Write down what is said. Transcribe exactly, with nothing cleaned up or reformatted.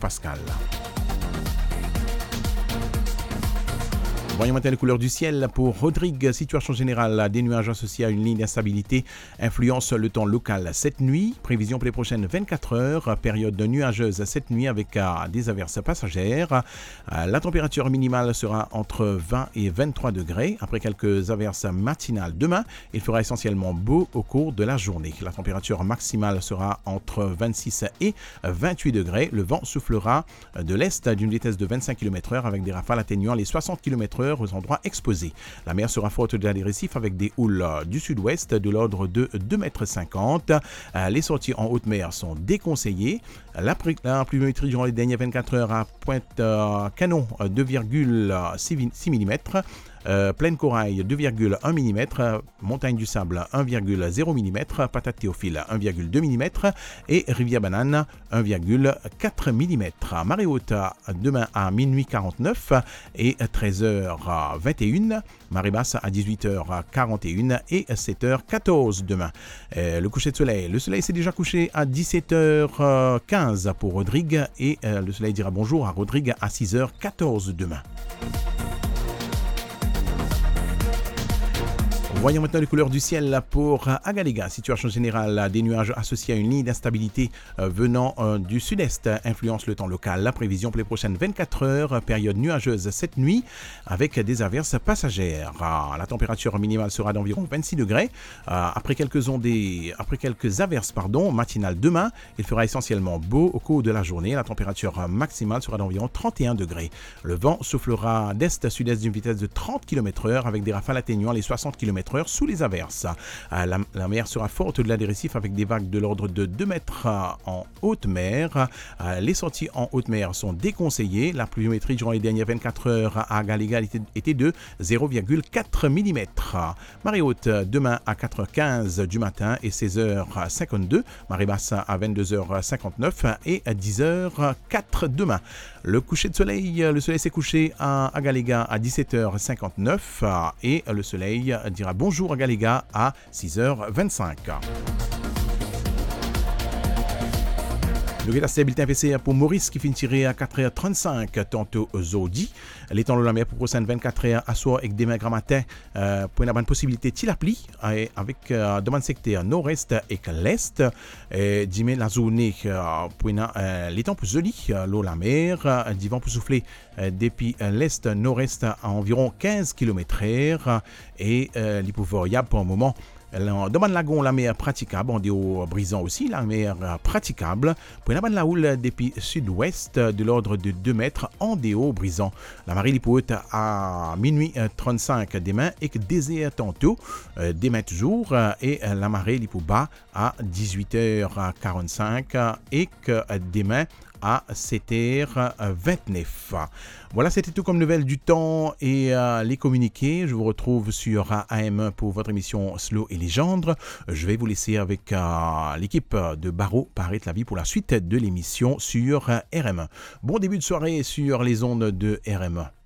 Pascal. Voyons maintenant les couleurs du ciel pour Rodrigues. Situation générale, des nuages associés à une ligne d'instabilité influencent le temps local cette nuit. Prévision pour les prochaines vingt-quatre heures, période nuageuse cette nuit avec, euh, des averses passagères. Euh, la température minimale sera entre vingt et vingt-trois degrés, après quelques averses matinales demain. Il fera essentiellement beau au cours de la journée. La température maximale sera entre vingt-six et vingt-huit degrés. Le vent soufflera de l'est d'une vitesse de vingt-cinq kilomètres heure avec des rafales atteignant les soixante kilomètres heure aux endroits exposés. La mer sera forte au-delà des récifs avec des houles du sud-ouest de l'ordre de deux mètres cinquante. Euh, les sorties en haute mer sont déconseillées. La pré-, la pluviométrie durant les dernières vingt-quatre heures à Pointe, euh, Canon, euh, deux virgule six millimètres, euh, Plaine Corail, deux virgule un millimètres, euh, Montagne du Sable, un virgule zéro millimètres, Patate Théophile, un virgule deux millimètres et Rivière Banane, un virgule quatre millimètres. Marée haute, euh, demain à minuit quarante-neuf et treize heures vingt et une. Marée basse à dix-huit heures quarante et une et sept heures quatorze demain. Euh, le coucher de soleil. Le soleil s'est déjà couché à dix-sept heures quinze pour Rodrigues et, euh, le soleil dira bonjour à Rodrigues à six heures quatorze demain. Voyons maintenant les couleurs du ciel pour Agalega. Situation générale, des nuages associés à une ligne d'instabilité euh, venant, euh, du sud-est influence le temps local. La prévision pour les prochaines vingt-quatre heures, période nuageuse cette nuit avec des averses passagères. Ah, la température minimale sera d'environ vingt-six degrés. Euh, après quelques ondées, après quelques averses, pardon, matinales demain, il fera essentiellement beau au cours de la journée. La température maximale sera d'environ trente et un degrés. Le vent soufflera d'est à sud-est d'une vitesse de trente kilomètres heure avec des rafales atteignant les soixante kilomètres heure sous les averses. Euh, la, la mer sera forte au-delà des récifs avec des vagues de l'ordre de deux mètres, euh, en haute mer. Euh, les sorties en haute mer sont déconseillées. La pluviométrie durant les dernières vingt-quatre heures à Agalega était, était de zéro virgule quatre millimètres. Marée haute, euh, demain à quatre heures quinze du matin et seize heures cinquante-deux. Marée basse à vingt-deux heures cinquante-neuf et à dix heures quatre demain. Le coucher de soleil, euh, le soleil s'est couché à Agalega à dix-sept heures cinquante-neuf, euh, et le soleil dira bonjour Agalega à six heures vingt-cinq. Nou get aster bilten PCR pou Moris ki finn tire a quatre heures trente-cinq tanto zordi. Letan lor lamer pou prosenn vingt-quatre heures, aswar ek demin gramatin, euh, pou ena bann posibilite ti lapli, eh, avek, euh, dan bann sekter nord-est ek lest. Eh, dime lazourne, euh, pou ena, euh, letan pou zoli, euh, lor lamer, euh, divan pou soufle, euh, depi, euh, lest nord-est a anviron quinze kilomètres heure, e, euh, li pou variab par moman. Dan bann lagon, lamer pratikab, andeor Brizan osi, lamer, euh, pratikab. Pou ena bann laoul depi sid-west, euh, de l'ordre de deux mètres andeor Brizan. Lamare li pou ot a minwi, euh, trente-cinq demin ek de zer tanto, euh, demin touzour, euh, e, euh, lamare li pou ba a dix-huit heures quarante-cinq, euh, ek, euh, demin a sept heures vingt-neuf. Voilà, c'était tout comme nouvelles du temps et, euh, les communiqués. Je vous retrouve sur, euh, A M un pour votre émission Slow et Légende. Je vais vous laisser avec, euh, l'équipe de Baro Paret Lavi pour la suite de l'émission sur, euh, R M un. Bon début de soirée sur les ondes de R M un.